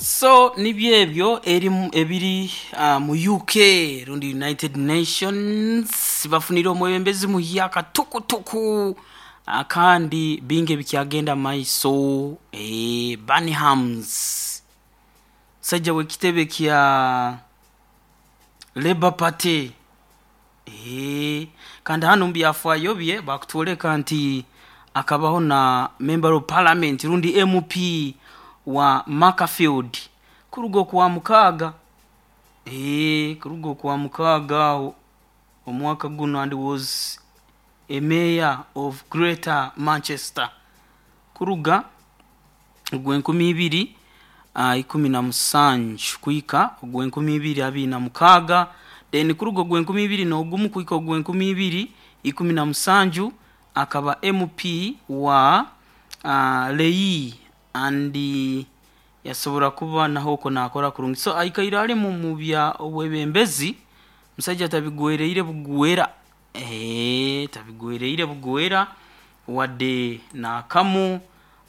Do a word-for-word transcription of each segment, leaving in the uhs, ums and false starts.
So nibyo ebyo erimu ebiri uh, mu U K rundi United Nations bafunire omwebembezi muhyaka tukutuku, uh, kandi bingi ebikyagenda maiso. eh, Burnhams musajja w'ekitebe kya Labour Party, eh, kandi hanu mu byafaayo bye bakutwoleka nti akabaho na member of parliament rundi M P wa Macclesfield kuruga okwa mukaaga, eh, kuruga okwa mukaaga aho omwaka guno, and was a mayor of Greater Manchester kuruga ogw'enkumi ibiri uh, ikumi na musanju kuhika ogw'enkumi ibiri abiri na mukaaga. Then kuruga ogw'enkumi ibiri n'ogumu kuhika ogw'enkumi ibiri ikumi na musanju akaba M P wa uh, Leigh, and yasobora kuba naho okwo nakora kurungi. So aikaire ali mu mu bya obwebembezi, musajja tabigwereire bugwera, eh, tabigwereire bugwera wadde nakamu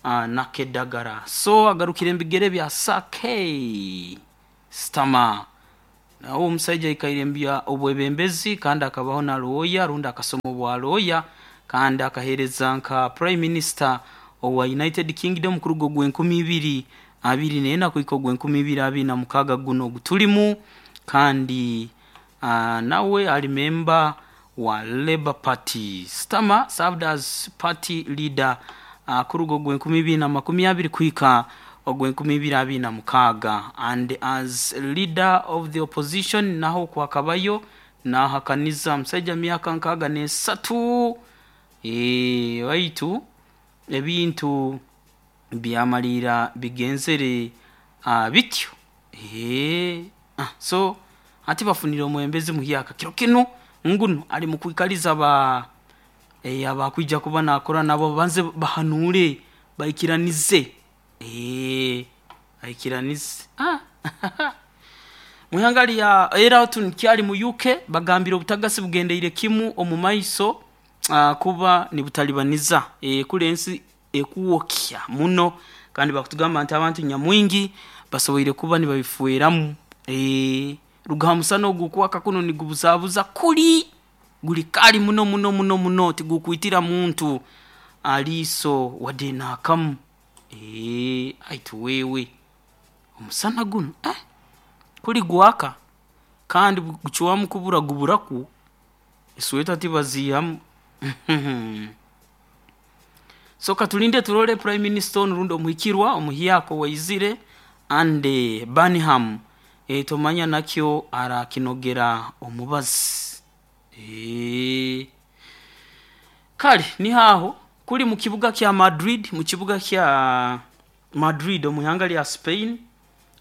uh, nakedagara. So agarukire mubigere bya Sir Keir Starmer. Nawe omusajja aikaire mu bya obwebembezi, kandi akabaho na lawyer rundi akasoma obwa lawyer, kandi akaheereza nka prime minister owa United Kingdom kuruga ogw'enkumi ibiri abiri n'ena kuhika ogw'enkumi ibiri abiri na mukaaga guno ogutulimu. Kandi uh, nawe ali member wa Labour Party. Starmer served as party leader uh, kuruga ogw'enkumi ibiri na makumi abiri kuhika ogw'enkumi ibiri abiri na mukaaga, and as leader of the opposition naho kwakabayo nahakaniza. Musajja myaka nkaaga n'esatu. Eh, waitu ebintu byamalira bigenzere uh, bityo. Eh, ah, so ati bafunire omwembezi muhyaka kiro kinu nguno ali mukwikaliza ba eh, abakwija kuba nakora nabo banze bahanure baikiranize, eh, baikiranize. ah. Mwihanga lya era tukyali mu U K, bagambire obutagasi bugendeire kimu omu maiso uh, kuba nibutalibaniza e, kule ensi ekuwokya muno, kandi bakutugamba nti abantu nyamwingi basoboire kuba nibabifueramu. e, ruga musana ogukwaka kuno nigubuzabuza kuli guli kali muno muno muno muno, tigukwitira muntu aliiso wadde naakamu. e, aitu wewe omusana guno eh, kuli gwaka kandi gucwamu kubura guburaku esweta tibaziihamu. So katulinde turole prime minister onu rundi omuhikirwa omuhyaka waizire Andy Burnham, e, tomanya nakyo arakinogera omubazi. e, kale nihaho kuli mu kibuga kya Madrid, mu kibuga kya Madrid omu ihanga lya Spain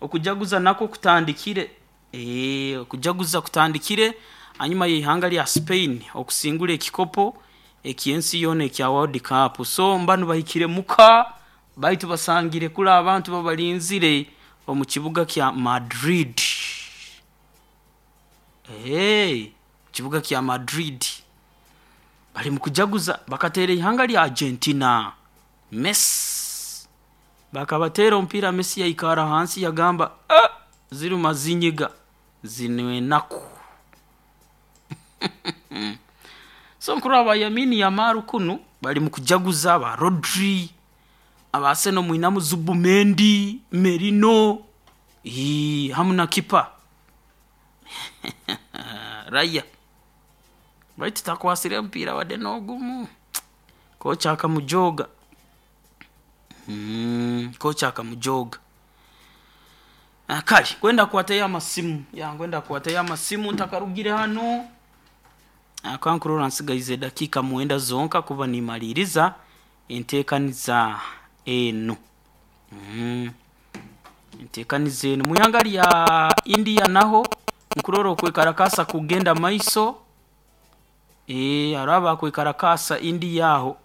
okujaguza nako kutandikire, e, okujaguza kutandikire hanyuma y'ihanga lya Spain okusingula ekikopo ekyensi yoona ekya World Cup. So mbanu bahikire muka baitu basangire kuli abantu babalinzire omu kibuga kya Madrid, hey, kibuga kya Madrid bali mu kujaguza. Bakateera ihanga lya Argentina, Messi bakabateera omupiira, Messi yaikara hansi yagamba, "Ah, ziruma zinyiga zino enaku." So nkuraba ba Lamine Yamal kunu bali mu kujaguza, ba Rodri, abaseno mwinamu Zubimendi, Merino, ii, hamu na kipa Raya, baitu takwasire omupiira wadde n'ogumu. Kocha akamujoga, mm, kocha akamujoga. Ah, kale kwenda kukwatayo amasimu ya ngwenda kukwatayo amasimu ntakarugire hano. Akankurora nsigaize dakiika mwenda zonka kuba nimaliriza enteekaniza eno, mm. Enteekaniza eno mwihanga lya India naho nkurora okwekarakasa kugenda maiso. e, hariho abakwekarakaasa India aho,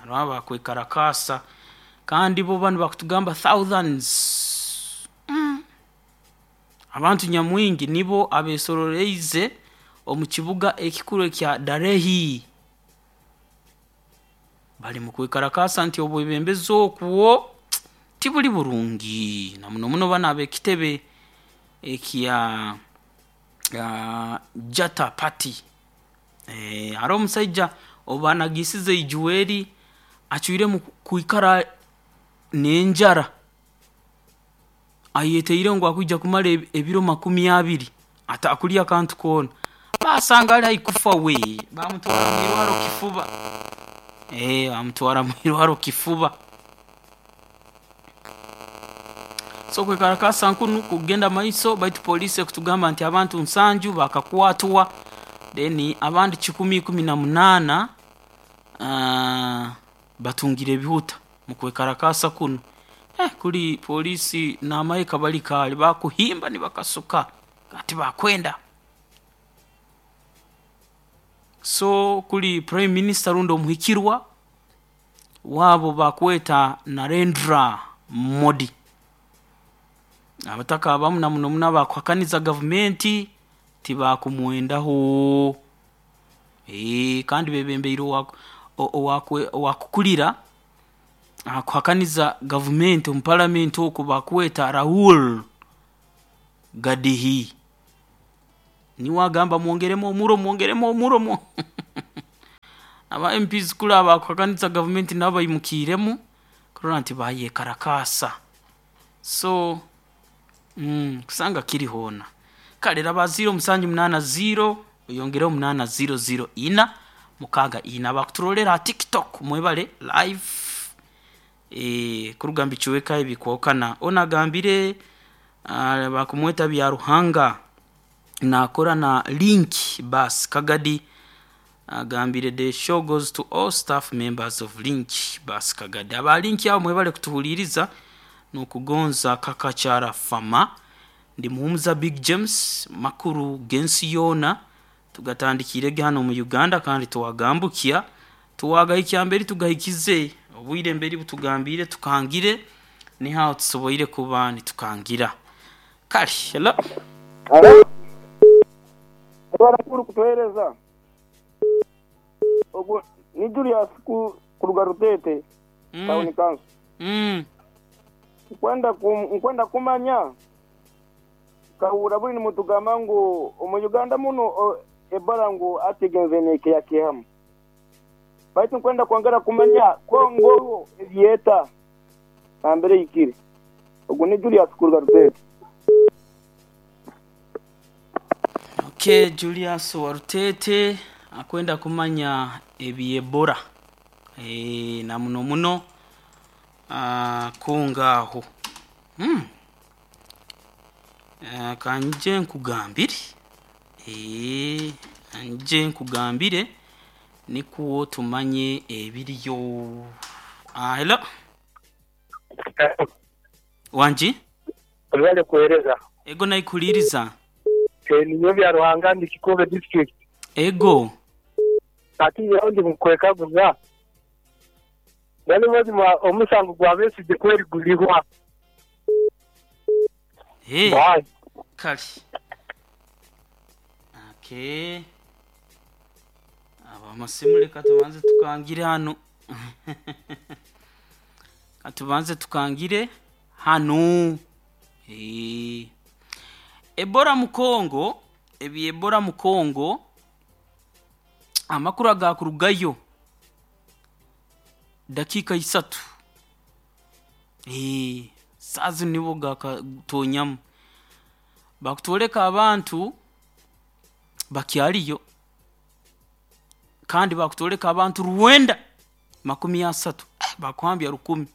hariho abakwekarakaasa, kandi bo banu bakutugamba thousands, mm. Abantu nyamwingi nibo abesororeize omu kibuga ekikuru ekya Delhi, bali mu kwekarakasa nti obwebembezi okwo Tibuli burungi na muno muno bana ab'ekitebe ekya uh, Jata Party. Eh, hariho omusaija obanagisize ijuweri acwiremu kwikara n'enjara, ayeteire ngu akwija kumara ebiro makumi abiri atakulya kantu koona, baasanga ali haihi kufa we, baamutwara mwirwarro kifuba, eeh baamutwara mwirwarro kifuba. So okwekalakaasa nkunu kukugenda mumaiso, baitu poliisi ekutugamba nti abantu nsanju bakakwatwa, then abandi kikumi ikumi na munaana aah batungire ebihuta mukwekalakaasa kunu. Eh kuli poliisi n'amahe kabali kaali bakuhimba nibakasuka tibakwenda. So kuli prime minister rundi omuhikirwa waabo bakweta Narendra Modi, abataka abamu na muno muno abakuhakaniza gavumenti tibakumwendaho, eeh kandi beebembiirwe owa owakwe owakukulira akuhakaniza gavumenti omu parliament oku bakweta Rahul Gandhi, niwe agamba mwongeremu omurro, mwongeremu omurro mwo aba MPs kuli abakuhakaniza gavumenti nabo baimukiiremu kurora nti bayekalakaasa. So mm kusanga kiri hoona. Kare raba ziro musanju munaana ziro oyongereho munaana ziro ziro ina mukaaga ina. Abakuturolerra ha TikTok mwebale live, eeh kuruga mubicweka ebikwahukana. Onu agambire uh bakumweta Byaruhanga naakora na Link Bus Kagadi, agambire the show goes to all staff members of Link Bus Kagadi. Aba Link abo mwebale kutuhuliiriza n'okugonza Kakachara Fama. Ndi Muhumuza Big James, makuru g'ensi yoona tugatandikiirege hanu omu Uganda kandi twagambukya, twagahikya mberi tugahikize, obwire mberi butugambiire tukangire, niho aho tusoboire kuba nitukangira. Kale hello. Halo. Amakuru kutuheereza ogwo ni Julius ku kuruga Rutete Mm. town council. Mm. Nkwenda kum, nkwenda kumanya kahura buli nimutugamba ngu omu Uganda muno o, Ebola ngu atigenze nekeyakehamu, baitu nkwenda kwongera kumanya Kongo ebyeta nambere ikire. Ogwo ni Julius kuruga Rutete. Okay, Julius wa Rutete akwenda kumanya ebyebora e, na muno muno uh, kungaho mm. Uh, kanje nkugambire e, nje nkugambire nikuwo tumanye ebiriyo. Uh, hello wanji Olwale kuhereza. Ego naikuliriza. E, ninyo bya Ruhanga ndi Kikube district. Ego Ati yaho ndi mukwekaguza. Bali mazima omusango gwa Besigye kweri gulihwa. Hey. Bye. Kale. Okay. Aba amasimu reka tubanze tukangire hano. Katubanze tukangire hano. Eh. Ebola mu Kongo, ebi Ebola mu Kongo amakuru agakurugayo dakika isatu. Eh, sazi nibo gakatonyamu. Bakutwoleka abantu bakyaliyo kandi bakutwoleka abantu rwenda makumi asatu, eh, bakuhambya rukumi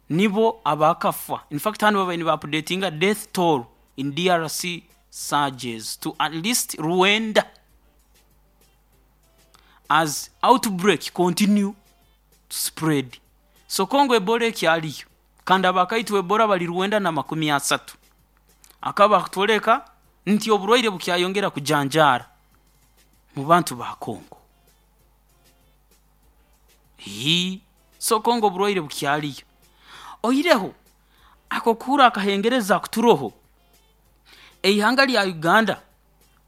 nibo abakafa. In fact hano babaire niba updatinga death toll in D R C surges to at least Rwanda as outbreak continue to spread. So Kongo Ebola ekyaliyo kandi abakaitwa Ebola bali rwenda na makumi asatu. Akaba akutwoleka nti oburwaire bukyayongera kujanjaara mu bantu ba Kongo. Hii, so Kongo oburwaire bukyaliyo. Oireho ako kuhura akahengereza kuturoho eihanga lya Uganda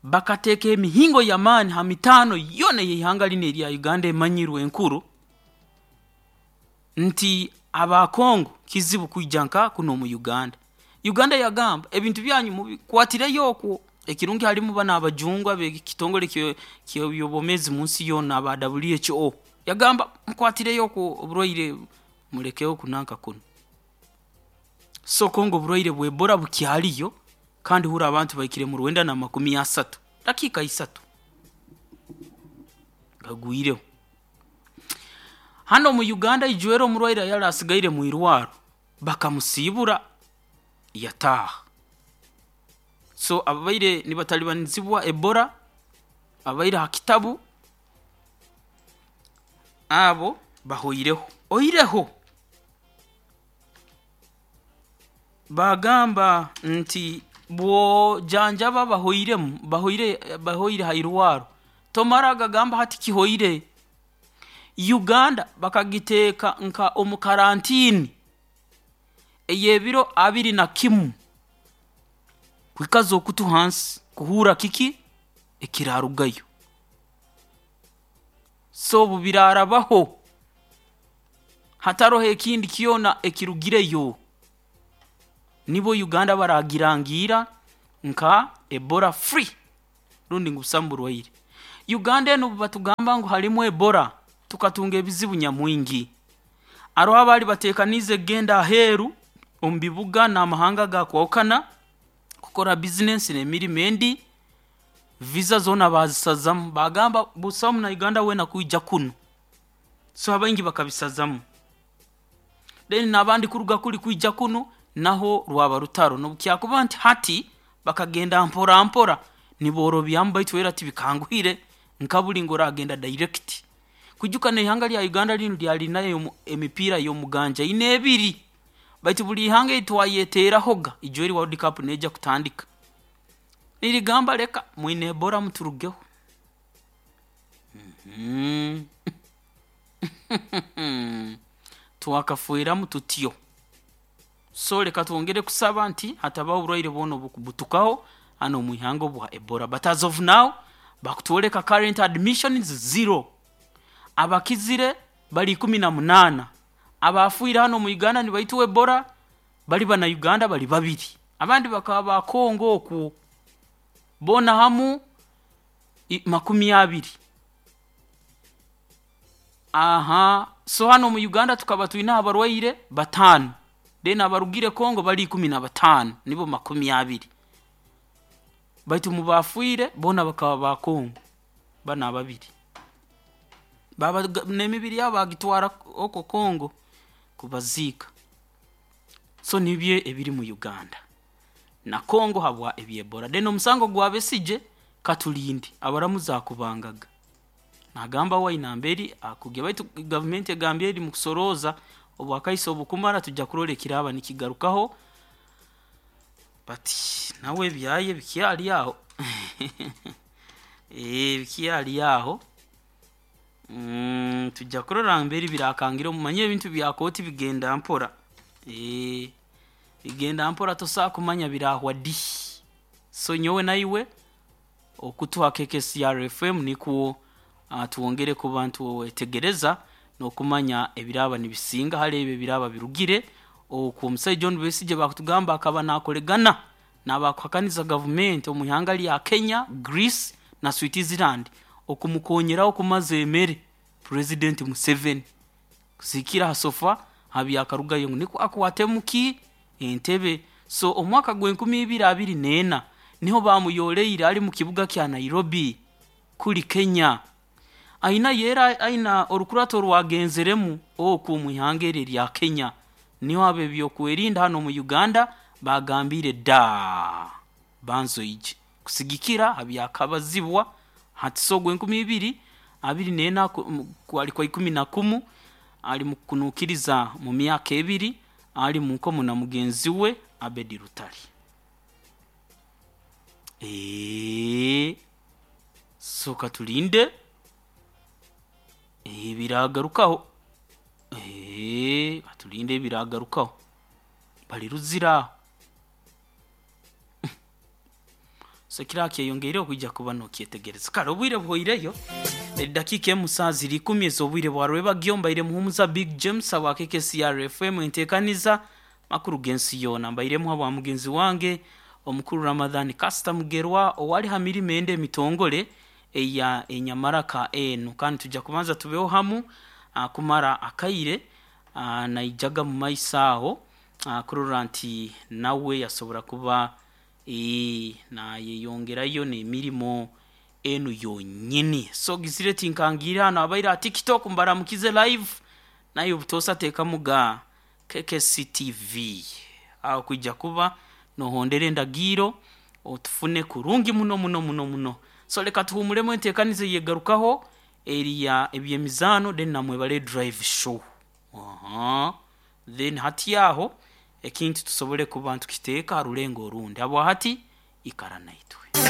bakateeka emihingo y'amaani ha mitaano yona ey'eihanga lino erya Uganda emanyirwe enkuru nti Aba Kongo kizibu kwija nka kuno mu Uganda. Uganda yagamba ebintu byanyu mubikwatireyo okwo. Ekirungi halimu bana abajungwa bekitongole ky'ebyobwomeezi mu nsi yoona aba W H O. Yagamba mukwatireyo okwo oburwaire mulekeho kunanka kuno. So Kongo oburwaire bwa Ebola bukyaliyo kandi hura abantu baikire mu Rwanda na makumi asatu dakika isatu gagwireho. Hano mu Uganda ijwero omurwaire yali asigaire mu irwaro bakamusibura yataha. So ababaire nibatalibanizibwa Ebola abaire ha kitabu abo bahoireho oireho bagamba nti bwojanjaba bahoiremu bahoire bahoire hairwaro tomara gagamba hati kihoire. Uganda bakagiteeka nka omu karantini ey'ebiro abiri na kimu kwikaza okutu hansi kuhura kiki ekirarugayo. So obu birarabaho hataroho ekindi kyona ekirugireyo nibo Uganda baragirangira nka Ebola free rundi ngu busamu burwaire. Uganda eno batugamba ngu halimu Ebola tukatunga ebizibu nyamwingi. Aroho abali batekanize genda aheeru omu bibuga n'amahanga gakwahukana kukora bizinesi n'emirimo endi, visa zoona bazisazamu bagamba busamu na Uganda wena kwija kuno. So abaingi bakabisazamu. Then n'abandi kuruga kuli kwija kuno naho rwaba rutaro nobukyakuba nti hati bakagenda mpora mpora niborobyamu baitu era tibikanguhire nka buli ngu oragenda direct. Kujuka n'ihanga lya Uganda linu lyalinayo emipiira y'omuganja ine ebiri baitu buli ihanga etwayeterahoga ijweri World Cup neja kutandika nirigamba leka mwine Ebola muturugeho. Mm -hmm. Twakafuiramu tutyo. So leka twongere kusaba nti hatabaho oburwaire bwona obukubutukaho hano mu ihanga obwa Ebola. But as of now bakutwoleka current admissions zero, abakizire bali ikumi na munana, abafuire hano mu Uganda nibaitwa Ebola bali bana Uganda bali babiri, abandi bakaba ba Kongo okwo bona hamu makumi abiri. Aha, so hano mu Uganda tukaba twina abarwaire batano, then abarugire Kongo bali ikumi na batano nibo makumi abiri, baitu mubafuire bona bakaba ba Kongo bana babiri baba n'emibiri yabo bagitwara oko Kongo kubaziika. So nibye ebiri mu Uganda na Kongo habwa eby'Ebola. Then omusango gwa Besigye katulindi abaramuzi akubangaga nagamba wainamberi akugya baitu gavumenti egambye eri mu kusoroza obwakaisa obukumara tujja kurora ekiraba nikigarukaho bati nawe ebyaye bikyali aho. Eh bikyali aho. Mm, tujja kurora mberi birakangira omumanye ebintu bya kooti bigenda mpora. Eh bigenda mpora tosa kumanya birahwa di. So nyowe naiwe okutuha K K C R F M nikuwo uh, tuwongere ku bantu wetegereza n'okumanya ebiraba nibisinga hali ebyo ebiraba birugire okwo. Omusajja John Besigye bakutugamba akaba nakolegana n'abakuhakaniza gavumenti omu ihanga lya Kenya, Greece na Switzerland okumukonyeraho kumaza emere President Museveni kusikira ha sofa habyakarugayo ngu niko akwatemuki entebe. So omwaka gw'enkumi ibiri abiri n'ena niho bamuyoleire ali mu kibuga kya Nairobi kuli Kenya. Aina yera aina orukurato rwagenzeremu okwo mu ihanga eryo lya Kenya niho abe byokwerinda hano mu Uganda bagambire da banzoije kusigikira abyakabazibwa hati so gwenkumi ibiri abiri n'ena kwali kwa ikumi na kumu ali mu kunukiriza mu myaka ebiri ali mu nkomo na mugenzi we Abedi Rutari. Eh so katulinde ebiragarukaho. Eh katulinde ebiragarukaho bali ruzira. So kira kyeyongeire okwija kuba nokyetegereza. Kale obwire buhoireyo edakiika emu saa ziri ikumi ez'obwire bwa rwebagyo. Mbaire muhumuza Big James abwa K K C R F M, enteekaniza makuru g'ensi yoona. Mbairemu habwa mugenzi wange omukuru Ramadhan Kasita Mugerwa, owali ha mirimo ende emitongole eya enyamaraka enu. Kandi tujja kubanza tubeho hamu ah, kumara akaire, ah, naijaga mu maiso aho ah, kurora nti nawe yasobora kuba eh, nayeyongerayo n'emirimo enu yonyini. So gizire tinkangiire hano abaire ha TikTok, mbaramukize live naye obutosa teekamuga K K C T V aho kwijja kuba nohondera endagiro otufune kurungi muno muno muno muno. So leka tuhumulemu, enteekaniza eyegarukaho eriya ebyemizaano, then namwebale drive show. Aha. Then hati aho ekintu tusobole kuba ntukiteeka ha rulengo orundi. Habwa hati ikara naitwe.